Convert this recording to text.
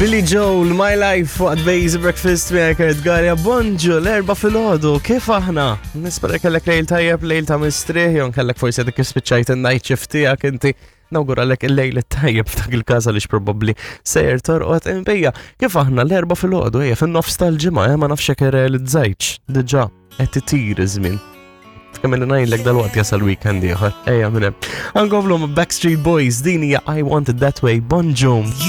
Billy Joel, My Life, waqt Bejz Breakfast miegħek Kurt Garja, bonġu l-erba filgħodu, kif aħna? Nispera kellek lejl tajjeb, lejl ta' mistrieħ, jew kellek forsi dik spiċċajt in-night shift tiegħek inti. Nawguralek il-lejl tajjeb f'dak il-każ għaliex probabbli sejjer torqod imbejja. Kif aħna l-erba filgħodu ejja fin-nofs tal-ġimgħa, eh, ma nafx hekk irrealizzajtx diġà qed itir iż-żmien. Kemm li ngħidlek dal-waqt jasal weekend ieħor. Ejja minn hemm. Ankomplu Backstreet Boys din hija I Want It That Way. Bonġu.